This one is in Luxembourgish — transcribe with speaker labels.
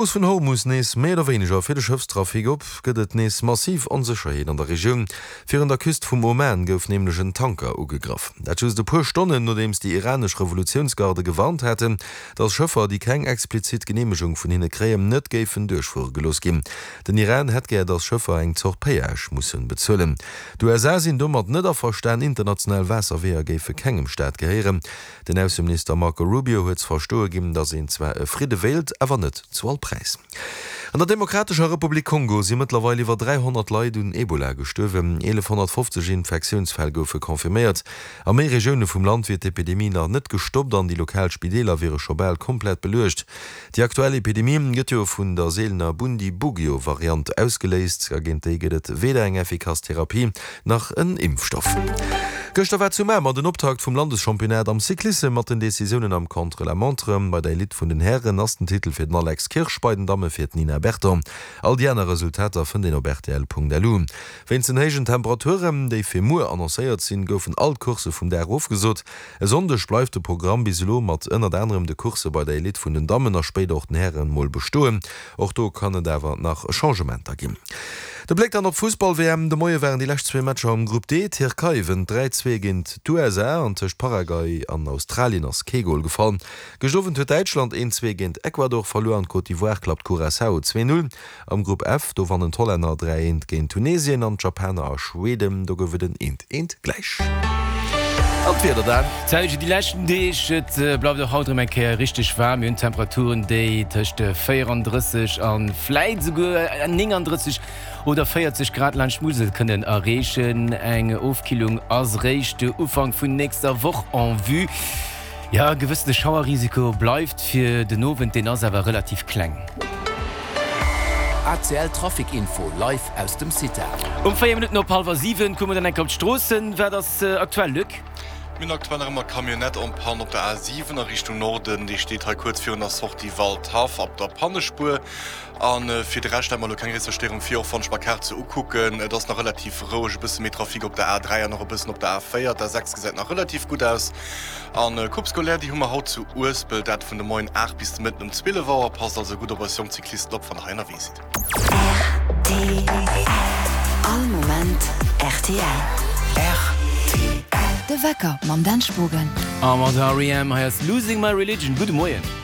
Speaker 1: Strooss vun Hormus nees méi oder wéineger fir de Schëffstrafic op, gëtt et nees massiv Onsécherheet an der Regioun. Virun der Küst vum Oman gouf nämlech en Tanker ugegraff. Dat just e puer Stonnen, nodeems déi iranesch Revolutiounsgarde gewarnt haten, datt Schëffer, déi keng explizit Geneemegung vun hinne kréien, net géifen duerchfuere gelooss ginn. Den Iran hätt gär, datt Schëffer eng Zort Péage musse bezuelen. D'USA sinn domat net averstan, international Waasserweeër géife kengem Staat gehéieren. Den Ausseminister Marco Rubio huet ze verstoe ginn, datt een zwar e Fridde wéilt, awer net zu all Präis. An der Demokratescher Republik Kongo si mëttlerweil iwwer 300 Leit un Ebola gestuerwen. 1.150 Infektiounsfäll goufe confirméiert. A méi Regioune vum Land wier d'Epidemie nach net gestoppt an déi lokal Spideeler wiere scho bal komplett beluecht. Déi aktuell Epidemie gëtt jo vun der seelener Bundibugyo-Variant ausgeléist a géint déi gëtt et weder eng effikass Therapie nach en Impfstoff. Gëschter war zu Mamer den Optakt vum Landeschampionnat am Cyclissem mat den Decisiounen am Contre-la-montre. Bei der Elite vun den Hären ass den Titel fir den Alex Kirsch, bei den Damme fir d'Nina Berton. All déi aner Resultater fënnt een op rtl.lu. Wéinst den héijen Temperaturen, déi fir muer annoncéiert sinn, goufen all d'Coursse vum Dag ofgesot. E Sonndeg bleift de Programm bis elo mat ënnert anerem de Coursse bei der Elite vun den Dammen a spéider och den Hären mol bestoen. Och do kann et awer nach Changementer ginn. De Bléck dann op d'Fussball-WM, De Moie waren déi lescht zwee Matcher am Grupp D. D'Tierkei wënnt 3, 2 géint d'USA an tëscht Paraguay an Australien ass kee Gol gefall. Gëscht Owend huet Däitschland 1, 2 géint Ecuador verluer an d'Côte d'Ivoire klappt Curaçao 2, 0. Am Grupp F, do wannen d'Hollänner 3, 1 géint Tunesien an d'Japaner a Schweden, do gouf et en 1, 1 gläich. An d'Wieder dann?
Speaker 2: Zäitege déi leschten Deeg, et bleift och haut erëm eng Kéier richteg waarm. Mir hunn Temperaturen, déi tëscht 34 a vläit esouguer 39 oder 40 Grad laanscht d'Musel kënnen erreechen. Eng Ofkillung ass réischt Ufank vun nächster Woch en vue. Jo, e gewëssene Schauerrisiko bleift fir den Owend, deen ass awer relativ kleng.
Speaker 3: ACL Trafic Info live aus dem CITA.
Speaker 2: Um 4 Minutten op hallwer 7 kucke mer dann eng Kéier op d'Stroossen. Wat ass aktuell, Luc?
Speaker 4: Mir hunn aktuell nach ëmmer Camionnette en panne op der A7 a Richtung Norden. Déi steet hei kuerz virun der Sortie Waldhaff op der Pannespuer. A fir de Rescht hat mer elo keng gréisser Stéierung vir, och wann ech mer d'Kaart sou ukucken. Et ass nach relativ roueg, e bësse méi Trafic op der A3 an och e bëssen op der A4. D'A6 gesäit nach relativ gutt aus. An Coupe scolaire, déi hu mer haut zu Uespelt, dat vun de Moien 8 bis de Mëtten um 12 Auer. Passt also gutt op eis jonk Cyclisten op, wann der hei ënnerwee sidd.
Speaker 5: Rtl, All Moment rtl.
Speaker 3: Rtl.
Speaker 5: De Wecker mam Dan Spogen.
Speaker 2: A mat R.E.M. hei ass Losing My Religion. Gudde Moien.